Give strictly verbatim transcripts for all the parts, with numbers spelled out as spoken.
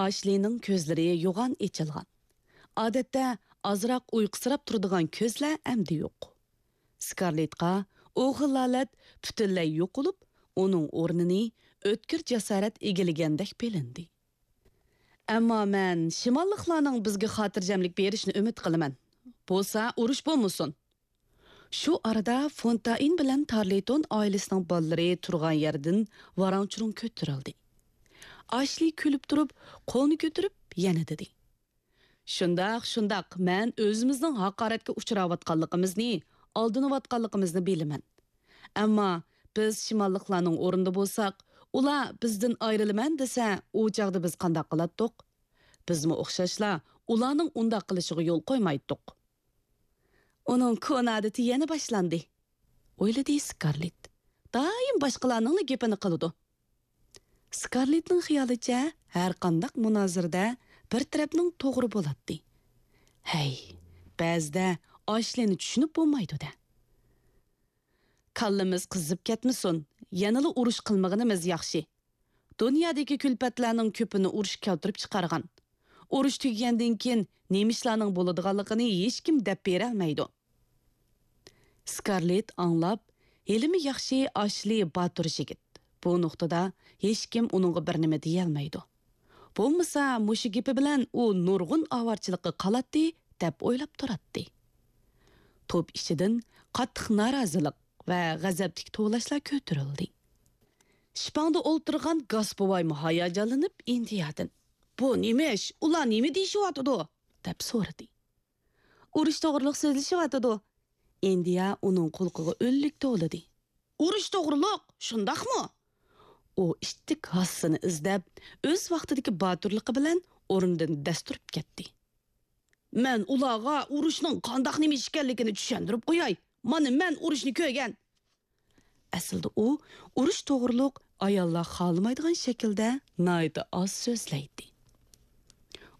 ئاشلىنىڭ كۆزلىرى يوغان ئېچىلغان. ئادەتتە ئازراق ئۇيقۇسىراپ تۇرىدىغان كۆزلەر ئەمدى يوق. سكارلېتقا ئۇ خىل ھالەت پۈتۈنلەي يوقىلىپ، ئۇنىڭ ئورنىنى ئۆتكۈر جاسارەت ئىگىلىگەندەك بىلىندى. ئەمما مەن شىماللىقلارنىڭ بىزگە خاتىرجەملىك بېرىشىنى ئۈمىد قىلىمەن. بولسا ئۇرۇش بولمىسۇن. شۇ ئارىدا فونتائىن بىلەن تارلىتون ئائىلىسىنىڭ بالىلىرى تۇرغان يەردىن ۋاراڭ-چۇرۇڭ كۆتۈرۈلدى. ئاشلى كۈلۈپ تۇرۇپ، قولىنى كۆتۈرۈپ يەنە دېدى: «شۇنداق، شۇنداق، مەن ئۆزىمىزنىڭ ھاقارەتكە ئۇچراۋاتقانلىقىمىزنى، ئالدىنىۋاتقانلىقىمىزنى بىلىمەن. ئەمما بىز شىماللىقلارنىڭ ئورنىدا بولساق، ئۇلار بىزدىن ئايرىلىمەن دېسە، ئۇ چاغدا بىز قانداق قىلاتتۇق؟ بىزمۇ ئوخشاشلا ئۇلارنىڭ ئۇنداق قىلىشىغا يول قويمايتتۇق.» «ئۇنىڭ كونا ئادىتى يەنە باشلاندى»، ئويلىدى سكارلېت. «دائىم باشقىلارنىڭلا گېپىنى قىلىدۇ.» سكارلېتنىڭ خىيالىچە، ھەرقانداق مۇنازىرىدە بىر تەرەپنىڭ توغرا بولاتتى. ھەي، بەزىدە ئاشلىنى چۈشىنىپ بولمايدۇ-دە. «كاللىمىز قىزىپ كەتمىسۇن، يەنىلا ئۇرۇش قىلمىغىنىمىز ياخشى. دۇنيادىكى كۈلپەتلەرنىڭ كۆپىنى ئۇرۇش كەلتۈرۈپ چىقارغان. ئۇرۇش تۈگىگەندىن كېيىن نېمە ئىشلارنىڭ بولىدىغانلىقىنى ھېچكىم دەپ بېرەلمەيدۇ.» سكارلېت ئاڭلاپ، ھېلىمۇ ياخشى ئاشلى باتۇر يىگىت. بۇ نۇقتىدا ھېچكىم ئۇنىڭغا بىر نېمە دېيەلمەيدۇ. بولمىسا مۇشۇ گېپى بىلەن ئۇ نۇرغۇن ئاۋارىچىلىققا قالاتتى، دەپ ئويلاپ تۇراتتى. توپ ئىچىدىن قاتتىق نارازىلىق ۋە غەزەپلىك توۋلاشلار كۆتۈرۈلدى. شىپاڭدا ئولتۇرغان گاس بوۋايمۇ ھاياجانلىنىپ ئىندىيادىن: «بۇ نېمە ئىش؟ ئۇلار نېمە دېيىشىۋاتىدۇ؟» دەپ سورىدى. «ئۇرۇش توغرۇلۇق سۆزلىشىۋاتىدۇ.» ئىندىيا ئۇنىڭ قۇلىقىغا ئۈنلۈك توۋلىدى. «ئۇرۇش توغرۇلۇق، شۇنداقمۇ؟» ئۇ ئىتتىك ھاسىسىنى ئىزدەپ، ئۆز ۋاقتىدىكى باتۇرلۇقى بىلەن ئورنىدىن دەس تۇرۇپ كەتتى. «مەن ئۇلارغا ئۇرۇشنىڭ قانداق نېمە ئىش ئىكەنلىكىنى چۈشەندۈرۈپ قوياي. مانا مەن ئۇرۇشنى كۆرگەن.» ئەسلىدە ئۇ ئۇرۇش توغرۇلۇق ئاياللار خالىمايدىغان شەكىلدە ناھايىتى ئاز سۆزلەيتتى.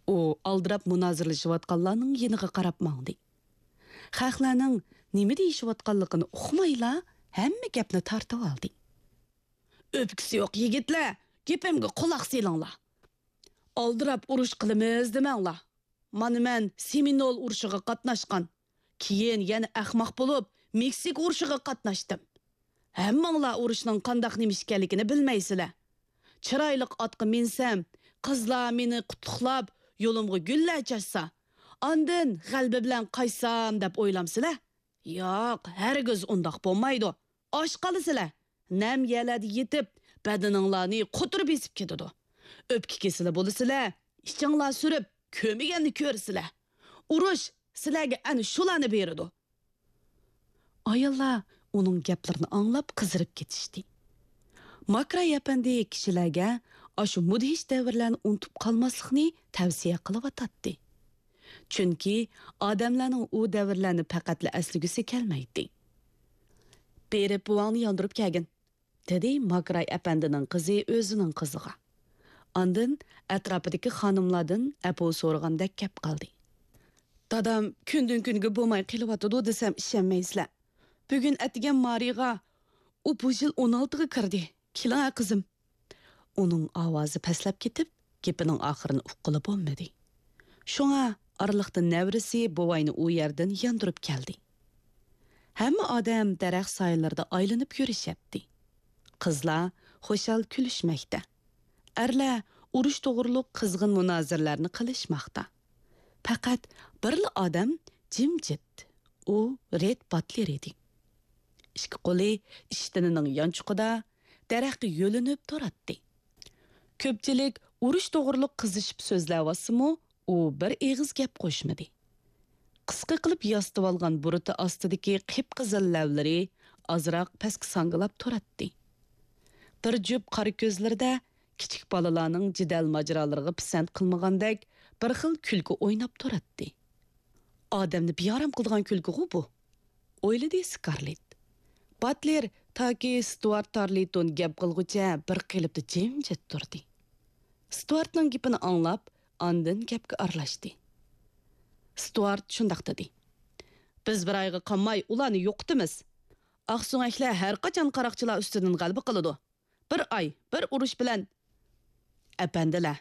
ئۇ ئالدىراپ مۇنازىرىلىشىۋاتقانلارنىڭ يېنىغا قاراپ ماڭدى. خەقلەرنىڭ نېمە دېيىشىۋاتقانلىقىنى ئۇقمايلا، ھەممە گەپنى تارتىۋالدى. «ئۆپكىسى يوق يىگىتلەر، گېپىمگە قۇلاق سېلىڭلار. ئالدىراپ ئۇرۇش قىلىمىز دېمەڭلار. مانا مەن سېمىنول ئۇرۇشىغا قاتناشقان. كېيىن يەنە ئەخمەق بولۇپ، مېكسىكا ئۇرۇشىغا قاتناشتىم. ھەممىڭلار ئۇرۇشنىڭ قانداق نېمە ئىكەنلىكىنى بىلمەيسىلەر. چىرايلىق ئاتقا مىنسەم، قىزلار مېنى قۇتلۇقلاپ، يولۇمغا گۈللەر چاچسا، ئاندىن غەلىبە بىلەن قايتسام دەپ ئويلامسىلەر؟ ياق، ھەرگىز ئۇنداق بولمايدۇ. ئاچ قالىسىلەر، نەم يەرلەردە يېتىپ، بەدىنىڭلارنى قوتۇرا بېسىپ كېتىدۇ. ئۆپكە كېسىلى بولىسىلەر، ئىچىڭلار سۈرۈپ، كۆرمىگەننى كۆرىسىلەر. ئۇرۇش سىلەرگە ئەنە شۇلارنى بېرىدۇ.» ئاياللار ئۇنىڭ گەپلىرىنى ئاڭلاپ قىزىرىپ كېتىشتى. ماكراي ئەپەندى كىشىلەرگە ئاشۇ مۇدھىش دەۋرلەرنى ئۇنتۇپ قالماسلىقنى تەۋسىيە قىلىۋاتاتتى. چۈنكى ئادەملەرنىڭ ئۇ دەۋرلەرنى پەقەتلا ئەسلىگۈسى كەلمەيتتى. «بېرىپ بوۋاڭنى ياندۇرۇپ كەلگىن»، دېدى ماكراي ئەپەندىنىڭ قىزى ئۆزىنىڭ قىزىغا. ئاندىن ئەتراپىدىكى خانىملاردىن ئەپۇ سورىغاندەك گەپ قىلدى. «دادام كۈندىن-كۈنگە بولماي قېلىۋاتىدۇ دېسەم ئىشەنمەيسىلەر. بۈگۈن ئەتىگەن مارىغا ئۇ بۇ يىل ئون ئالتىغا كىردى. كېلىڭە قىزىم.» ئۇنىڭ ئاۋازى پەسلەپ كېتىپ، گېپىنىڭ ئاخىرىنى ئۇققىلى بولمىدى. شۇڭا ئارىلىقتا نەۋرىسى بوۋاينى ئۇ يەردىن ياندۇرۇپ كەلدى. ھەممە ئادەم دەرەخ سايىلىرىدا ئايلىنىپ يۈرۈشەتتى. قىزلار خۇشال كۈلۈشمەكتە. ئەرلەر ئۇرۇش توغرۇلۇق قىزغىن مۇنازىرىلەرنى قىلىشماقتا. پەقەت بىرلا ئادەم جىمجىت. ئۇ رېد باتلېر ئىدى. ئىككى قولى ئىشتىنىنىڭ يانچۇقىدا دەرەخكە يۆلىنىپ تۇراتتى. كۆپچىلىك ئۇرۇش توغرۇلۇق قىزىشىپ سۆزلەۋاتسىمۇ، ئۇ بىر ئېغىز گەپ قوشمىدى. قىسقا قىلىپ ياسىتىۋالغان بۇرۇتى ئاستىدىكى قىپقىزىل لەۋلىرى ئازراق پەسكە ساڭگىلاپ تۇراتتى. بىر جۈپ قارا كۆزلىرىدە كىچىك بالىلارنىڭ جېدەل-ماجىرالىرىغا پىسەنت قىلمىغاندەك بىر خىل كۈلكە ئويناپ تۇراتتى. «ئادەمنى بىئارام قىلىدىغان كۈلكىغۇ بۇ»، ئويلىدى سكارلېت. باتلېر تاكى ستۇئارت تارلىتون گەپ قىلغۇچە بىر قېلىپتا جىمجىت تۇردى. ستۇئارتنىڭ گېپىنى ئاڭلاپ، ئاندىن گەپكە ئارىلاشتى. ستۇئارت شۇنداق دېدى: «بىز بىر ئايغا قالماي ئۇلارنى يوقىتىمىز. ئاقسۆڭەكلەر ھەرقاچان قاراقچىلار ئۈستىدىن غەلىبە قىلىدۇ. بىر ئاي، بىر ئۇرۇش بىلەن.» «ئەپەندىلەر،